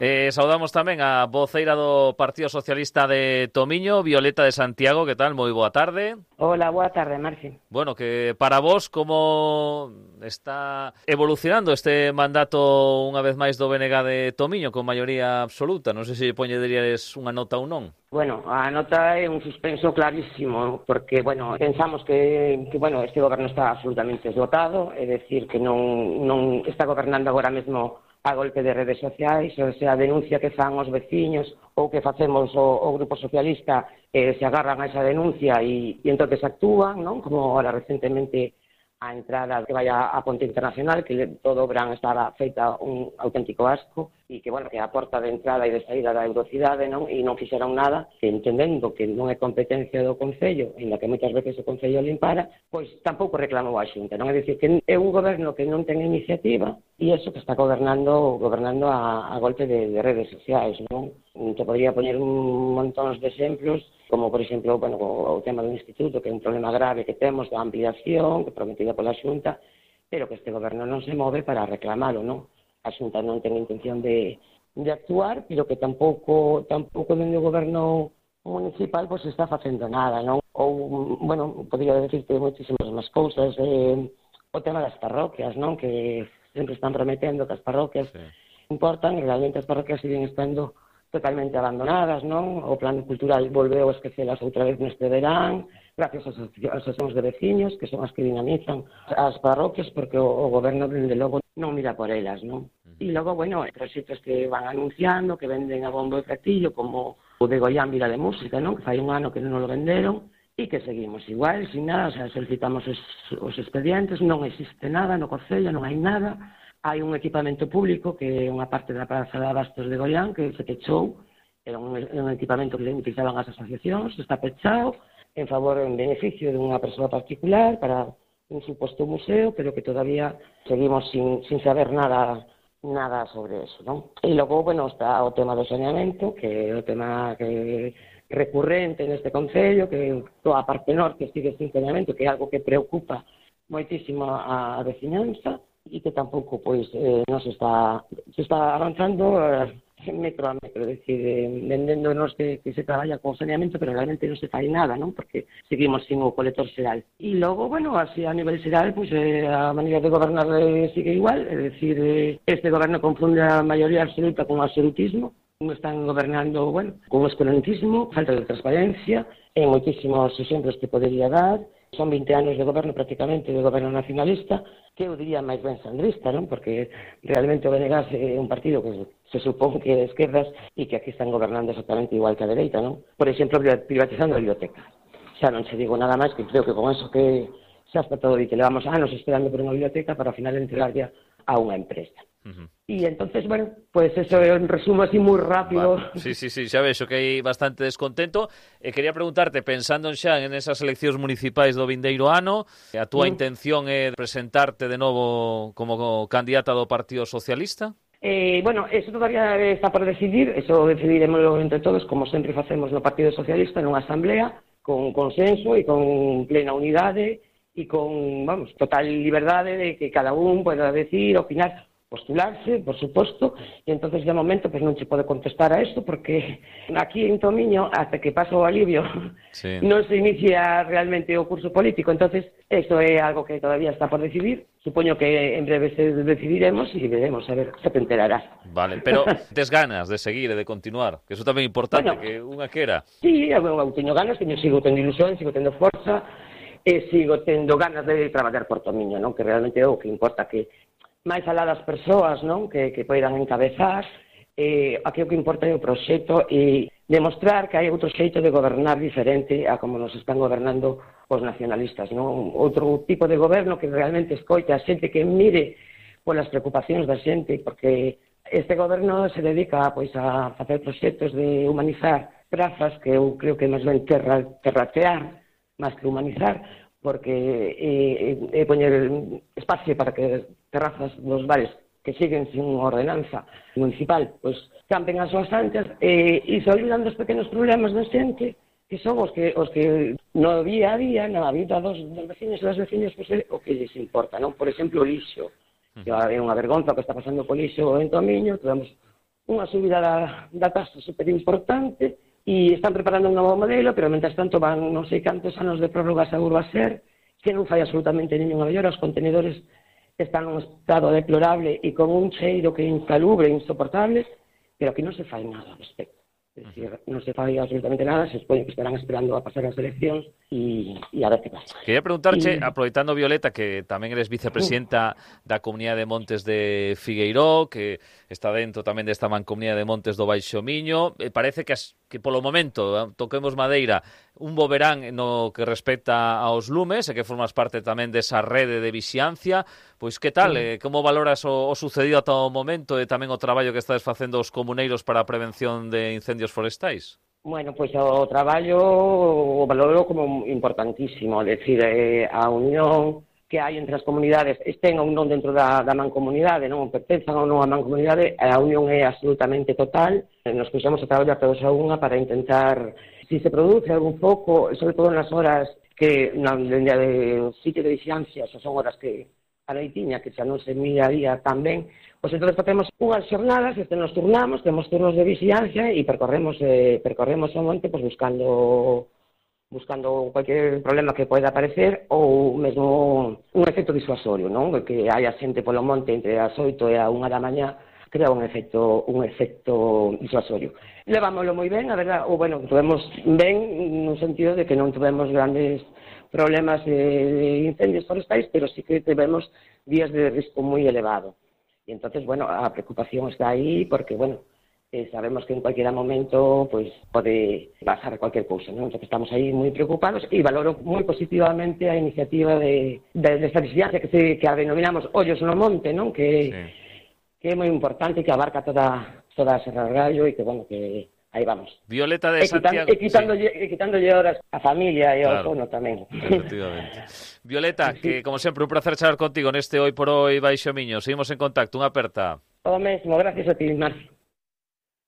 Saudamos tamén a voceira do Partido Socialista de Tomiño, Violeta de Santiago. Que tal? Moi boa tarde. Hola, boa tarde, Marci. Bueno, que para vos, como está evolucionando este mandato unha vez máis do BNG de Tomiño con maioría absoluta? Non sei se poñeríades unha nota ou non. Bueno, a nota é un suspenso clarísimo, porque, pensamos que este goberno está absolutamente esgotado, é dicir, que non está gobernando agora mesmo a golpe de redes sociais, ou sea, a denuncia que fan os veciños ou que facemos o Grupo Socialista, se agarran a esa denuncia e entonces actúan, non? Como ahora recentemente a entrada que vai a Ponte Internacional, que todo o verán estaba feita un auténtico asco, e que, que a porta de entrada e de saída da Eurocidade, non? E non fixeron nada, que entendendo que non é competencia do Concello, en la que moitas veces o Concello limpara, pois tampouco reclamou a Xunta, non? É dicir, que é un goberno que non ten iniciativa, e iso que está gobernando a golpe de redes sociais, non? Te podría poñer un montón de exemplos, como, por exemplo, o tema do Instituto, que é un problema grave que temos da ampliación, que prometida pola Xunta, pero que este goberno non se move para reclamalo, non? A Xunta non ten intención de actuar, pero que tampouco dende o goberno municipal pois está facendo nada, non? Ou, podría decirte moitísimas máis cousas, o tema das parroquias, non? Que sempre están prometendo que as parroquias importan, e realmente as parroquias siguen estando totalmente abandonadas, non? O plan cultural volveu a esquecelas outra vez neste verán, gracias ás asociacións de veciños, que son as que dinamizan as parroquias, porque o goberno, dende logo, non mira por elas, non? E logo, proxectos que van anunciando, que venden a bombo e platillo, como o de Goián Vila de Música, non? Que fai un ano que non o venderon, e que seguimos igual, sin nada, o sea, solicitamos os expedientes, non existe nada no Concello, non hai nada. Hai un equipamento público que é unha parte da Praza de Abastos de Goián que se pechou, era un equipamento que utilizaban as asociacións, está pechado en beneficio de unha persoa particular para un suposto museo, pero que todavía seguimos sin saber nada sobre eso, non? E logo, está o tema do saneamento, que é o tema que recurrente neste Concello, que toda a parte norte sigue sin saneamento, que é algo que preocupa moitísimo a veciñanza, e que tampouco non se está avanzando metro a metro, é dicir, vendéndonos que se traballa con saneamento, pero realmente non se fai nada, non? Porque seguimos sin o colector xeral. E logo, así a nivel xeral, a maneira de gobernar sigue igual, é dicir, este goberno confunde a maioría absoluta con o absolutismo, están gobernando, con o escurantismo, falta de transparencia, e moitísimos exemplos que podería dar. Son 20 anos de goberno prácticamente, de goberno nacionalista, que eu diría máis ben sandrista, non? Porque realmente o BNG é un partido que se supón que é de esquerdas e que aquí están gobernando exactamente igual que a dereita, non? Por exemplo, privatizando a biblioteca. Xa non se digo nada máis, que creo que con eso que xa está todo dito. Levamos anos esperando por unha biblioteca para ao final entregarla a unha empresa. E entonces, eso é un resumo así moi rápido. Vale. Sí, xa vexo que hai bastante descontento. Quería preguntarte, pensando xa en esas eleccións municipais do vindeiro ano, a túa intención é presentarte de novo como candidata do Partido Socialista? Eso todavía está por decidir, eso decidiremoslo entre todos, como sempre facemos no Partido Socialista, nunha asamblea, con consenso e con plena unidade e con, total liberdade de que cada un pueda decir, opinar, postularse, por suposto, e entonces de momento non se pode contestar a isto porque aquí en Tomiño, hasta que pasa o alivio, non se inicia realmente o curso político, entonces isto é algo que todavía está por decidir, supoño que en breve se decidiremos e veremos, a ver, se te enterarás. Vale, pero tes ganas de seguir e de continuar, que iso tamén é importante, que unha quera. Sí, eu teño ganas, sigo tendo ilusión, sigo tendo forza, e sigo tendo ganas de traballar por Tomiño, non? Que realmente é o que importa, que máis alá das persoas, non? Que poidan encabezar, aquí o que importa é o proxecto e demostrar que hai outro xeito de gobernar diferente a como nos están gobernando os nacionalistas, non? Outro tipo de goberno que realmente escoite a xente, que mire polas preocupacións da xente, porque este goberno se dedica a facer proxectos de humanizar prazas, que eu creo que máis ben terratear máis que humanizar, porque é poñer espacio para que terrazas dos bares que siguen sin ordenanza municipal, campen as súas anchas e se olvidan dos pequenos problemas da xente, que son os que no día a día, na vida dos veciños e das veciñas, é o que lles importa, non? Por exemplo, o lixo, que é unha vergonza que está pasando co lixo en Tomiño, temos unha subida da taxa super importante e están preparando un novo modelo, pero mentre tanto van non sei cantos anos de prórrogas a Urbaser, que non fai absolutamente ninguna mellora, os contenedores están nun estado deplorable e con un cheiro que é insalubre, insoportable, pero aquí non se fai nada ao respecto. É dicir, non se fai absolutamente nada, se supone que estarán esperando a pasar as eleccións e a ver que pasa. Quería preguntarche, aproveitando, Violeta, que tamén eres vicepresidenta da Comunidade de Montes de Figueiró, que está dentro tamén desta mancomunidade de Montes do Baixo Miño, parece que polo momento, toquemos madeira, un bo verán no que respecta aos lumes, e que formas parte tamén desa rede de vixiancia. Pois que tal? Como valoras o sucedido ata o momento e tamén o traballo que estades facendo os comuneiros para a prevención de incendios forestais? Bueno, pois o traballo o valoro como importantísimo, é dicir, a unión que hai entre as comunidades, estén ou non dentro da mancomunidade, non pertenzan ou non a mancomunidade, a unión é absolutamente total. Nos puxemos a traballar todos a unha para intentar, se produce algún foco, sobre todo nas horas que no sitio de vixiancia, xa son horas que a noitiña, que xa non se miraría tan ben, pois entón facemos unhas xornadas, nos turnamos, temos turnos de vixiancia e percorremos o monte pois buscando cualquier problema que poida aparecer ou mesmo un efecto disuasorio, non? Que hai a xente polo monte entre as 8 e a 1 da mañá, crea un efecto disuasorio. Levámoslo moi ben, a verdad, tuvemos ben no sentido de que non tuvemos grandes problemas de incendios forestais, pero sí que tivemos días de risco moi elevado. E entonces, a preocupación está aí porque, sabemos que en cualquier momento pues pode pasar cualquier cousa, non? Entonces estamos aí moi preocupados e valoro moi positivamente a iniciativa de esta vixiancia que a denominamos Ollos no Monte, non? Que é moi importante, que abarca toda a Serra do Gallo e que, que aí vamos. Violeta de Santiago. E quitándolle horas a familia e ao sono tamén. Efectivamente. Violeta, que como sempre un placer charlar contigo neste Hoy por Hoy Baixo Miño. Seguimos en contacto, unha aperta. O mesmo, gracias a ti, Marcio.